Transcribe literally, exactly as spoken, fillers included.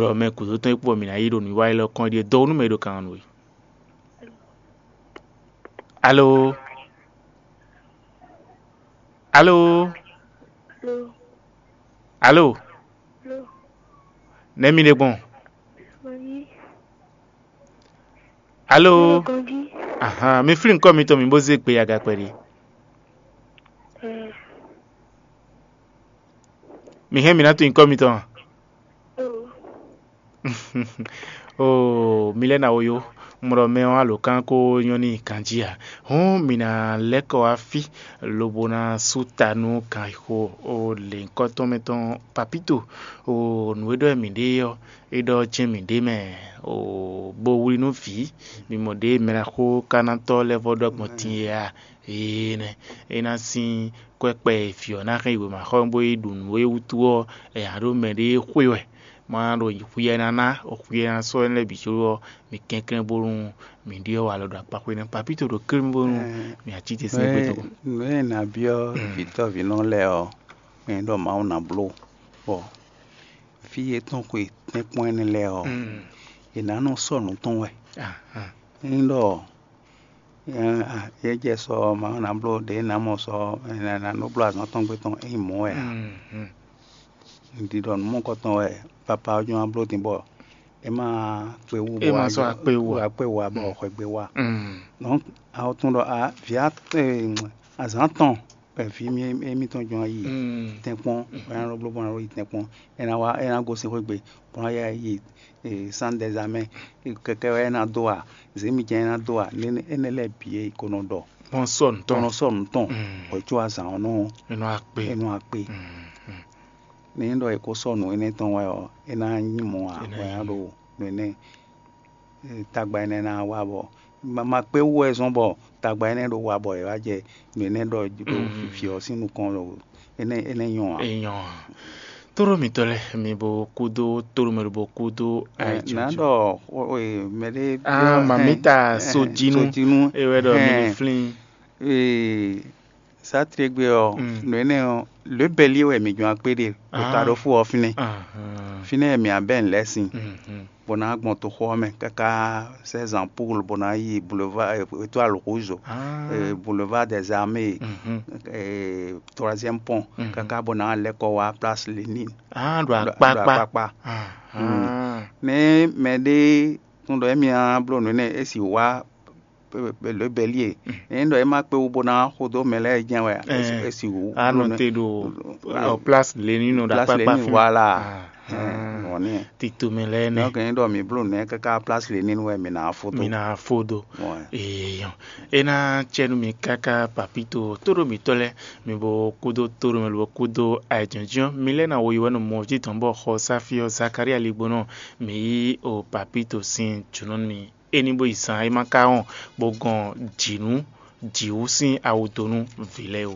Ɖɔ mɛ gǔdo tɔn e kpó mǐ ná yi ɖo nǔwiwa élɔ́ kɔn ɖíe dó nú mɛ e ɖo kan ɔ́ nú we. Alo? Alo? Alo? Nɛ̌ mi ɖe gbɔn? Alo? Ahan, mi flín nyǐkɔ mitɔn mi bó zé gbe aga kpɛɖé. Mi hɛn mi ná tunwun nyǐkɔ mitɔn a? Oo, mi lɛ́ ná wo yó, mlɔ mɛ ɔ́ alǒkan ko nyɔ́ n'i ganjí ǎ. Hǔn mǐ ná lɛ́ kɔ wá fí, lobo ná sú ta nú ganxixo lěhunkɔtɔn mɛ tɔn Papíto. Oo, nǔ e ɖɔ wɛ mǐ ɖe ɔ́, é ɖɔ jɛ́n mǐ ɖe mɛ. Oo, bó wlí nú vǐ, mi mɔ ɖěe mɛɖaxó ka ná tɔ́ lɛ́ vɔ́ ɖɔ gbɔn din é a? Énɛ́, é ná sín kwɛ́kpɛ e vǐ ɔ́ ná hɛn yi wěmaxɔ́ bó yi ɖu nǔ é wútu ɔ́, è nǎ ɖó mɛɖée xwé wɛ, má ɖo xwíyɛ́ ná ná, xwíyɛ́ ná sɔ́ énɛ́ lɛ́ɛ bǐ có ɔ́, mi kɛnklɛ́n bónú mi ɖyɔ́ walɔ ɖo akpaxwé nɛ́. Papíto ɖo klín bónú mi ǎ cí te sín gbé tɔn. Nǔ e nǎ byɔ́ vǐtɔ́vǐnɔ lɛ́ɛ ɔ́, mɛ ɖɔ Mawu ná bló, bɔ fí e tɔn xwe tɛ́nkpɔ́n énɛ́ lɛ́ɛ ɔ́, è nǎ nɔ sɔ́ nǔ tɔn wɛ. Ényí ɖɔ é jɛ sɔ Mawu ná bló ɖě ná mɔ sɔ ná nɔ bló azǎn tɔn gbé tɔn ényí mɔ̌ wɛ ǎ. Un ɖi ɖɔ nǔ mɔ̌hunkɔtɔn wɛ papa ɔ́ jɔ́n ná bló din bɔ é má kpe wú É má sɔ́ akpé wú ǎ. Akpé wú ǎ bɔ xwegbe wá. Donc a tunwun ɖɔ a vǐ azǎn tɔn vǐ émítɔn jɔ́n yi tɛ́nkpɔ́n, é ná nɔ bló bɔ ná yi tɛ́nkpɔ́n, é ná wá é ná gosín xwé gbe, bó ná yi sán dɛzamɛ, kɛkɛ wɛ é ná dó a, zěmijɛ́n é ná dó a, énɛ́ lɛ́ɛ bǐ e ko nɔ ɖɔ. Bɔn sɔ nǔ Tɔn tɔn. Nɔ sɔ nǔ tɔn, hwɛ̌ có azǎn ɔ́ nɔ Enɔ akpé. É nɔ akpé. Ní ɖɔ è ko sɔ́ nǔ énɛ́ tɔn wɛ ɔ́, é ná nyí mɔ̌ ǎ, É ná bɔ é ná nyí. Ɖo nǔ énɛ́ tagba énɛ́ ná wá bɔ ma ma kpé wú wɛ zɔ́n bɔ tagba énɛ́ ɖo wa bɔ è wá jɛ nǔ énɛ́ ɖɔ ɖo vǐ ɔ́ sín nukɔn ɖo énɛ́ énɛ́ nyɔ́ ǎ. Enyɔ. Tóɖó mitɔ́ lɛ́ɛ, mi bo kúdó tóɖó mɛ bo kúdó Ɛ, ayǐjínjɔ́n. Ná ɖɔ o- o- e, mɛɖé Ah, biɔ- mamita hɛn, hɛn, sojinu. Sojinu. E wɛ ɖɔ mi Hɛn. Flin. Ee, sátrégbé ɔ́, Mm. Nǔ énɛ́ ɔ́, lě bɛ́lí wɛ mǐ jɔ́n akpé ɖe, ɖo Ah. Taɖófú ɔ́ fínɛ́. Ahán. Fínɛ́ wɛ mǐ abɛ́ lɛ́ sin, Mhm. Bó ná gbɔn toxo ɔ́ mɛ káká sɛ́ zan Pool bó ná yi boulevard, eh, Étoile Rouge, Ah. eh, boulevard des Armées, Mhm. eh, troisième pont, Mhm. Káká bó ná lɛ́ kɔ wá place Lénine. Ah, ɖo Ɖo- akpákpá. Ɖo akpákpá. Ahán. Nɛ́ mɛɖé tún ɖɔ émí ná bló nǔ énɛ́ é sì wá lǒbɛ́lí e. Ényí ɖɔ é má kpé wú bó ná xo dó mɛ lɛ́ɛ jɛ́n wɛ, é sì- Ɛɛ, é sì wú. Anɔ te ɖo Ɛ, ɔ, place Lénine ɖo place akpákpá Lénine, fínɛ́. Voilà. Ah, Ɛ, ah. Wɔ nɛ. Tito mɛ lɛ́ɛ nɛ. Donc ényí ɖɔ mǐ bló nɛ́ káká place Lénine wɛ mǐ ná fó dó. Mi na fodo. Ouais. Eyan. E na cɛ nú mi káká Papito tóɖó mǐtɔn lɛ́ɛ, mi bo kúdó tóɖó mɛ lobo kúdó ayǐjínjɔ́n. Mi lɛ́ɛ na wo yi wɛ nɔ mɔ jí tɔn bɔ xɔ sáfí ɔ́ Zakaria ligbónɔ, mi yí o Papito sín jǒnɔ n'i. É ní bó yi zan e ma ka wɔn bó gɔn jǐnú jǐwú sín awu dó nú vǐ lɛ́ɛ ó.